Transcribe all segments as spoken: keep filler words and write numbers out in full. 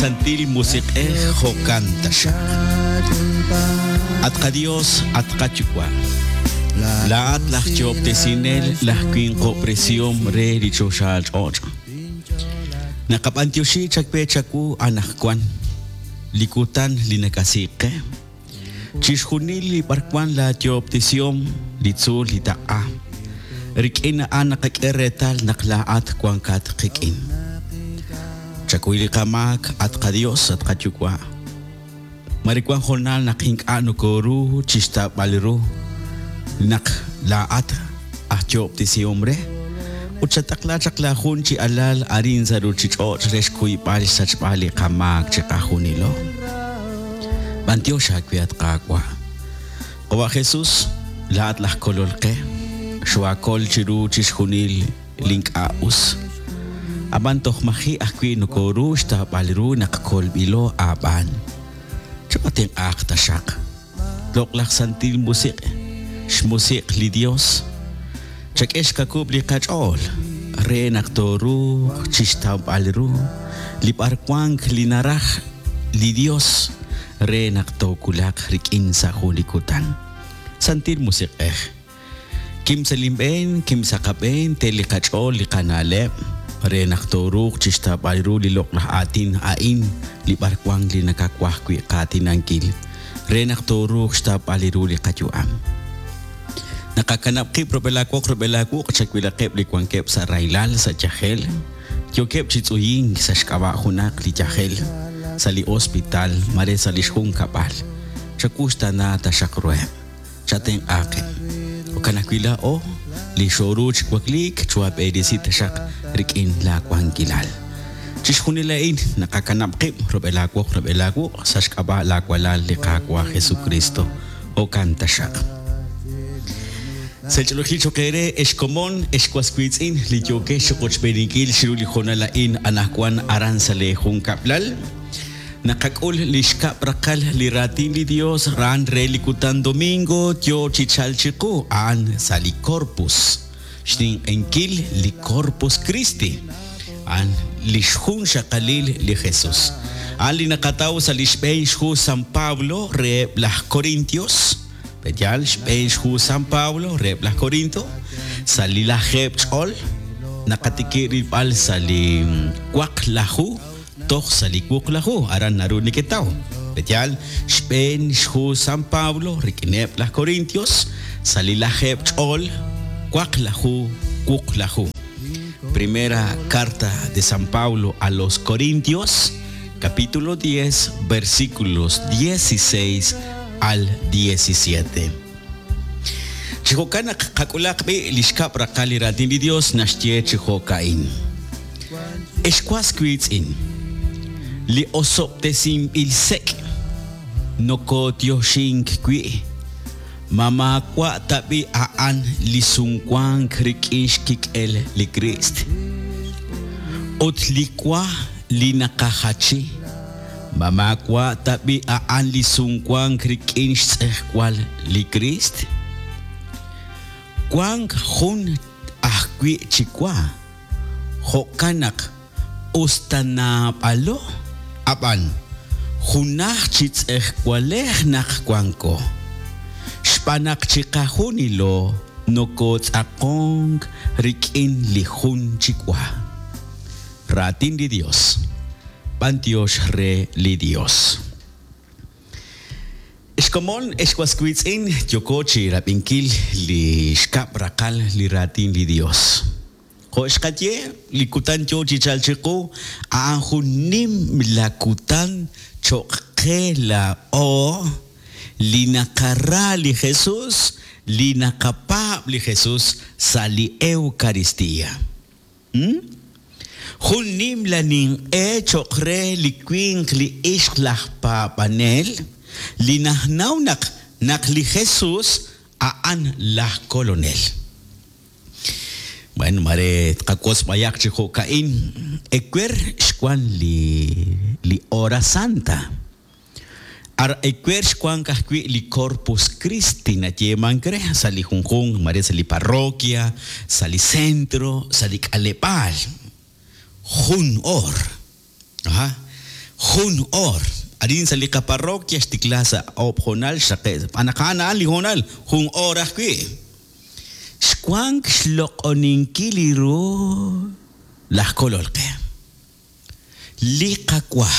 Santil Musiq'ej jo'kan taxaq. At qaDios, at qaYuwa', laa'at laj Yoob'tesinel, laj winqob'resihom re li choxaal ch'och'. Naqab'antioxi chakwe chawu anaqwan, li kutan li nakasiik qe. Chixjunil li b'arwan laayoob'tesihom, li tzuul li taq'a. Rik'in a'an naqak'e reetal naq laa'at wankat qik'in. Chakuy li qamaak, at qaDios, at qaYuwa'. Mare wan hoonal naq ink'a' nokoru chixtaab'al ru naq laa'at aj yoob'tesihom re. Ut chataqla chaq laajun chi alal arin sa' ruuchich'och' re xkuyb'al xsachb'al li qamaak chiqajunilo. B'antiox aawe at Qaawa'. Qawa' Jesus, laa'at laj kolol qe, xwaakol chiru chixjunil li ink'a' us. Ab'an toj maji' ajwi' nokoru xtaab'al ru naq kolb'ilo aab'aan. Chaqatenq'aaq taxaq. Loq'laj Santil Musiq', xmusiq' li Dios, chak'e xkakub' li qach'ool re naq tooruuq chixtawb'al ru li b'arwank li naraj li Dios re naq tookulaq rik'in sa' jun li kutan. Santil Musiq'ej, kim sa' linb'een, kim sa' qab'een, te li qach'ool li qana'leb' re naq tooruuq chixtawb'al ru li loq'laj aatin a'in li b'arwank li nakawaj wi' qaatinankil re naq tooruuq xtawb'al ru li qayu'am. Naqakanab' qib' rub'el aawoq rub'el aawuq' chawilaqeb' li wankeb' sa' rahilal, sa' yajel, yookeb' chi tz'uyink sa' xk'ab'a' junaq li yajel, sa' li hospital, mare sa' li xjunkab'al. Chakuxtana taxaq ruheb', chatenq'aaqeb'. Jo'kan ajwi' laa'o li xooru chi wakliik chuwab'erisi taxaq rik'in laawankilal. Chixjunil a'in naqakanab' qib' rub'el aawoq rub'el aawuq' sa' xk'ab'a' laawalal li Qaawa' Jesucristo. Jo'kan taxaq. Sech'olojil choq eere ex komon, ex waswiitz'in li yookex chiqochb'eeninkil chiru li hoonal a'in anaqwan aran sa' lee junkab'lal. Naqak'ul li xkab' raqal li raatin li Dios ran re li kutan domingo yo chi chalk chiqu a'an sa' li Corpus. Xninq'enkil li Corpus Christi. A'an li xjun xaqalil li Jesus. A'an li naqataw sa' li xb'een xhu San Pablo reheb' laj Corintios. B'eyal xb'een xhu San Pablo reheb' laj Corinto. Sa' li lajeeb' ch'ol naqatiki rilb'al sa' li waqlaju toj sa' li wuqlaju aran naru neketaw. B'eyal xb'een xhu San Pablo rik'ineb' laj Corintios sa' li lajeeb' ch'ol waqlaju wuqlaju. Primera carta de San Pablo a los Corintios, capítulo diez, versículos dieciséis al diecisiete. Chi jo'kan naq qak'ulaq b'i li xkab' raqal li raatin li Dios naxye chi jo'ka'in. Ex was wiitz'in, li osob'tesinb'il sek' nokotioxink wi', ma maawa' tab'i a'an li sumwank rik'in xkik'el li Kriist. Ut li wa li naqajachi, ma maawa' tab'i a'an li sumwank rik'in xtz'ejwal li Kriist. Wank jun ajwi' chi wa, jo'kan naq us ta naab'alo, ab'an junaj chi tz'ejwalej naq wanko. Xb'aan naq chiqajunilo nokotz'aqonk rik'in li jun chi wa. Raatin li Dios, b'antiox re li Dios. Ex komon, ex waswiitz'in, yoko chi rab'inkil li xkab' raqal li raatin li Dios. Jo' xqaye, li kutan yo chi chalk chiqu, a'an jun nim la kutan cho'q qe laa'o li naqara li Jesus, li naqapaab' li Jesus sa' li Eucaristía. Hmm? Jun nim la ninq'e cho'q re li winq li ixq laj paab'anel, li najnaw naq naq li Jesus a'an laj kolonel. Bueno, mare tqakos b'ayaq chi jo'ka'in, ewer xwan li li Hora Santa. Ar ewer xwan kajwi' li Corpus Christi nayeemank re sa' li junjunq, mare sa' li parroquia, sa' li centro, sa' li k'aleb'aal. Jun or. Aha. Jun oor. Arin sa' li qaparroquia xtikla sa' oob' hoonal xraqe'. Naq a'an a'an li hoonal, jun oor ajwi'. Xwank xloq'oninkil li ru laj Kolol qe. Li qawa,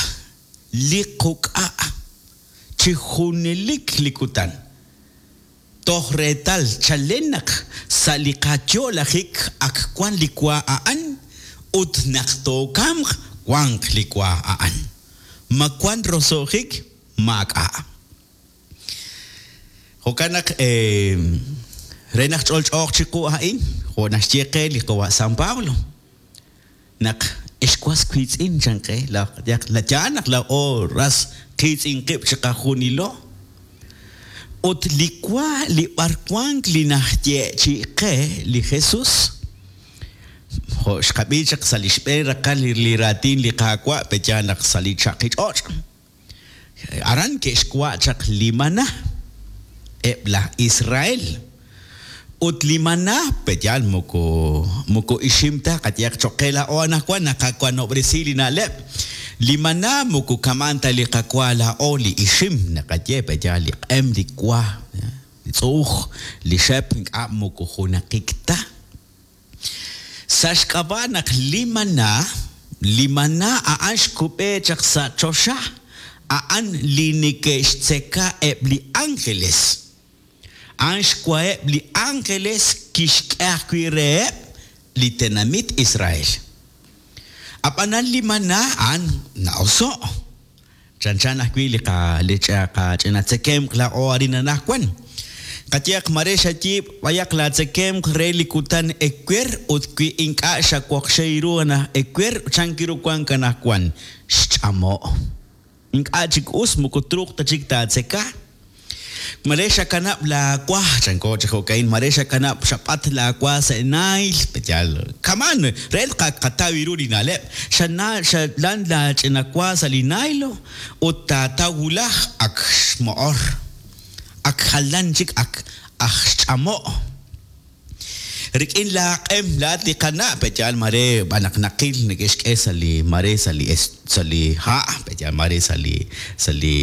li quk'a', chi junelik li kutan. Toj reetal chalen naq sa' li qayo'lajik ak wan li wa a'an ut naq tookamq wanq li wa a'an. Ma wan roso'jik? Maak'a'. Jo'kan naq re naq ch'olch'ooq chiqu a'in, jo' naxye qe li qawa' San Pablo, naq ex was wiitz'in chan qe, la yaal naq laa'o ras qiitz'in qib' chiqajunilo. Ut li wa li b'arwank li naxyeechi'i qe li Jesús, jo' xqab'i chaq sa' li xb'een raqal li raatin li Qaawa' pe'yaal naq sa' li chaqi ch'och'. Aran ke'xwa' chaq li maná eb' laj Israel. Ut li maná pe'yaal moko moko ixim ta qayehaq cho'q qe laa'o anaqwan naqawanob'resi li na'leb'. Li maná moko kama'an ta li qawa laa'o li ixim naqaye pe'yaal li q'em li wa, li tz'uuj, li xep ink'a' moko junaqik ta. Sa' xk'ab'a' naq li maná, li maná a'an xkub'e chaq sa' choxa, a'an li neke'xtzeka eb' li ángeles. A'an xwaheb' li ángeles kixk'e ajwi' reheb' li tenamit Israel. Ab'anan li maná a'an na'oso'. Chanchan ajwi' li qa li qach'ina tzekemq laa'o arin anaqwan. Qayehaq mare xayiib' b'ayaq laatzekemq re li kutan ewer ut wi ink'a' xawoqxey ru anaj ewer chan ru wank anaqwan xch'amo'. Ink'a' chik us moko truuq ta chik taatzeka. Mare xakanab' laawa chanko chi jo'ka'in mare xakanab' xab'at laawa sa' naayl pe'yaal kaman re qataw ru li na'leb' xana xalan laach'ina wa sa' li naaylo ut taataw wulaj ak xmo'or. Ak jalan chik ak aj xch'amo'. Rik'in laaq'em laat li qana' pe'yaal mare b'anaq naqil neke'xk'e sa' li mare sa' li sa' li ha' pe'yaal mare sa' li sa' li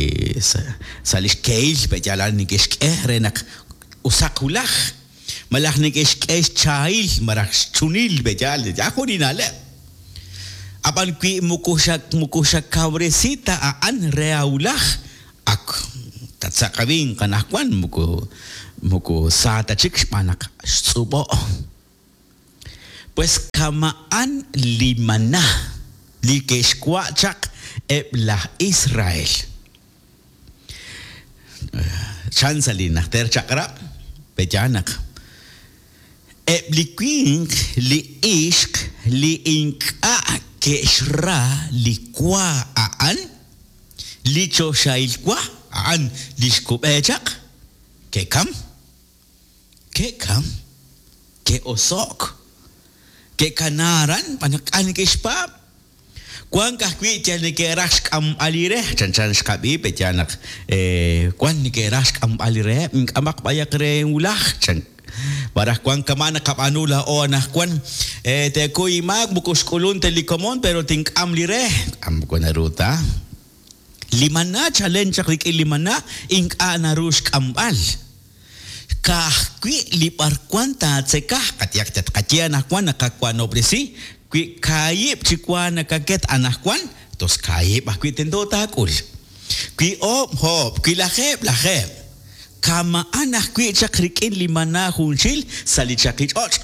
sa' li xkehil pe'yaal a'an neke'xk'e re naq usaq wulaj. Malaj neke'xk'e xchaahil malaj xchunil pe'yaal ya jun li na'leb'. Ab'an wi moko xa moko xakawresi ta a'an re awulaj ak tatzaqawin qanaqwan moko moko sa ta chik xb'aan naq xtz'ub'o'. Pues kama'an li maná li ke'xwa' chaq eb' laj Israel. Chan sa' li najter chaq'rab' pe'yaal naq eb' li winq li ixq li ink'a' ke'xra li wa a'an li choxahil wa a'an li xkub'e chaq ke'kam, ke'kam, ke'oso'k, ke'kana aran b'an naq k'a neke'xpaab'. Wank ajwi' yal neke'raj xk'amb'al li re, chanchan xqab'i pe'yaal naq wan neke'raj xk'amb'al li reheb', ink'amaq b'ayaq re wulaj chan. Baraj wan kama' naqab'aanu laa'o anaqwan teekuy imaak moko xk'ulun ta li komon pero tink'am li re, k'am moko naru ta. Li maná chalen chaq rik'in li maná ink'a' naru xk'amb'al. Ka'ajwi' li b'arwan taatzeka, qayehaq tatqaye anaqwan naqawanob'resi, wi kaahib' chi wa nakaket anaqwan, tos kaahib' ajwi' tento taak'ul. Wi oob' oob', wi lajeeb' lajeeb'. Kama'an ajwi' chaq rik'in li maná junxil sa' li chaqi ch'och'.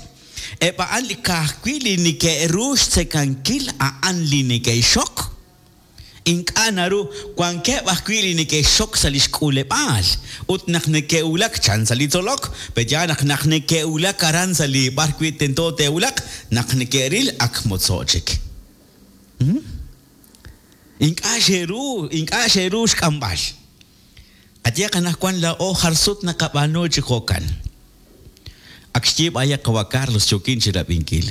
Eb' a'an li ka'ajwi' li neke'ru xtzekankil a'an li neke'xok. Ink'a' naru wankeb' ajwi' li neke'xok sa' li xk'uleb'aal. Ut naq neke'wulak chan sa' li tzolok, pe'yaal naq naq neke'wulak aran sa' li b'ar wi' tento te'wulaq, naq neke'ril ak motzo' chik. Ink'a' xe'ru, ink'a' xe'ru xk'amb'al. Qayehaq anaqwan laa'o jar sut naqab'aanu chi jo'kan. Ak xye b'ayaq qawa' Carlos yookin chi rab'inkil.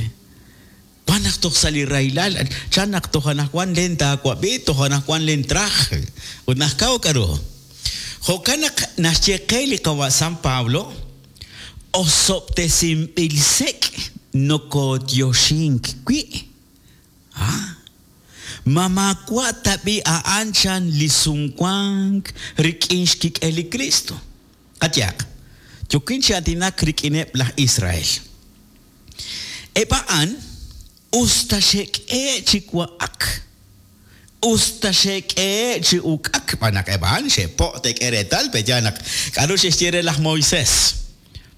Wan naq toj sa' li rahilal, chan naq toj anaqwan len taawab'i, toj anaqwan len traj. Ut naq kaw k'aru. Jo'kan naq naxye qe li qawa' San Pablo, osob'tesinb'il sek' nokotyoxink wi'. Ah. Ma maawa' tab'i a'an chan li sumwank rik'in xkik'el li Kristo. Qayehaq, yookin chi aatinak rik'ineb' laj Israel. Eb' a'an us ta xe'k'ehe' chi wa'ak, us ta xe'k'ehe' chi uk'ak, xb'aan naq eb' a'an xe'po' te'k'e reetal, pe'yaal naq k'a'ru xe'xye re laj Moisés.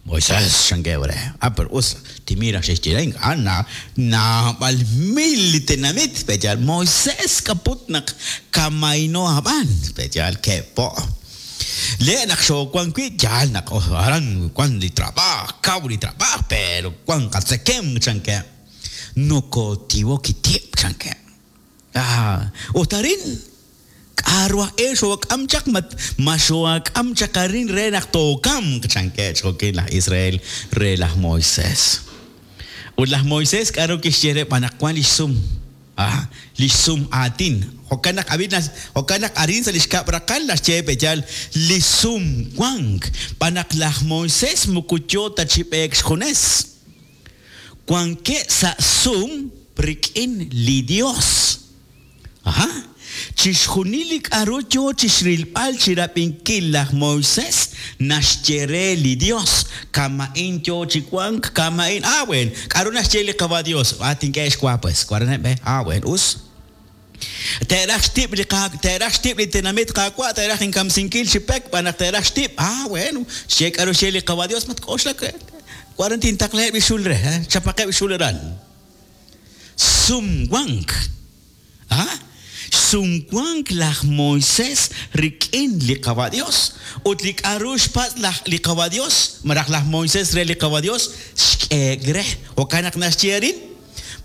Moisés, chankeb' re. Ah, pero us, timira xe'xye re, ink'a' na, naab'al mil li tenamit, pe'yaal Moisés kaput naq kamayno ab'an, pe'yaal ke'po'. Le naq xoowan wi' yaal naq oh, aran wan li trabaaj, kaw li trabaaj, pero wan qatzekem, chankeb'. Nokotiwo kitib', chankeb'. Ah, ut arin k'a'ru aj e xook'am chaq, ma, ma xook'am chaq arin re naq tookamq, chankeb' xjo'kin laj Israel re laj Moisés. Ut laj Moisés k'a'ru kixye re b'an naq wan lix sum, ah, lix sum aatin. Jo'kan naq ab'in nas, jo'kan naq arin sa' lix kab' raqal naxye pe'yaal li sumwank, b'an naq laj Moisés moko yoo ta chi b'eek xjunes. Wankeb' sa' sum rik'in li Dios. Aha. Chixjunil li k'a'ru yoo chixrilb'al chirab'inkil laj Moisés naxye re li Dios. Kama'in yoo chi wank, kama'in. Ah, bueno. K'a'ru naxye li Qawa' Dios? Ah, tink'e xwa, pues. Waraneb', eh. Ah, bueno, us. Te'raj xtib' li qa-, te'raj xtib' li tenamit Qaawa', te'raj inkamsinkil chi pek, b'an naq te'raj xtib'. Ah, bueno. Xye k'a'ru xye li Qawa' Dios, matk'oxlak, eh. Waran tintaqleheb' li xul re, eh. Chapaqeb' xul aran. Sumwank. Ah? Sumwank laj Moisés rik'in li Qawa' Dios. Ut li k'a'ru xpatz' laj li Qawa' Dios, malaj laj Moisés re li Qawa' Dios, xk'eek re. Jo'kan naq naxye arin,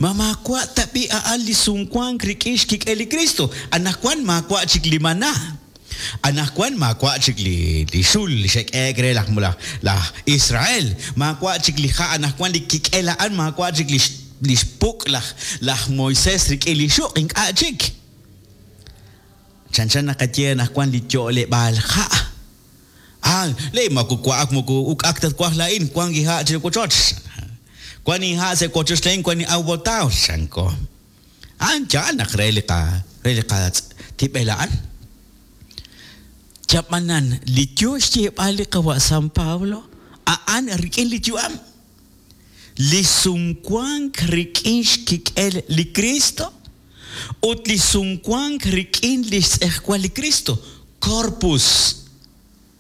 ma maawa' tab'i a'an li sumwank rik'in xkik'el li Kristo. Anaqwan maawa' chik li maná. Anaqwan maawa' chik li, li xul li xe'k'eek re laj, laj, laj Israel. Maawa' chik li ja', anaqwan li kik'el a'an, maawa' chik li x-, li xpuk' laj, laj Moisés rik'in li xuq', ink'a' chik. Chanchan naqaye anaqwan li yo'leb'aal ja'. Ah, le maku wa'ak moku uk'ak tatwaj laa'in, wan ki ja' chi wochoch. Wan in ja' se wochoch laa'in, wan in aw botao, chanko. An yaal naq re li qa, re li qa tib'el a'an. Chab'anan, li yo xyeeb'al li Qawa' San Pablo, a'an rik'in li yu'am. Li sumwank rik'in xkik'el li Kristo ut li sumwank rik'in li xtz'ejwal li Kristo, corpus.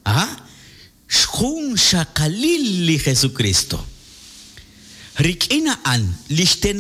Ah, xjun xaqalil li Jesucristo. Rik'in a'an, li xtenamit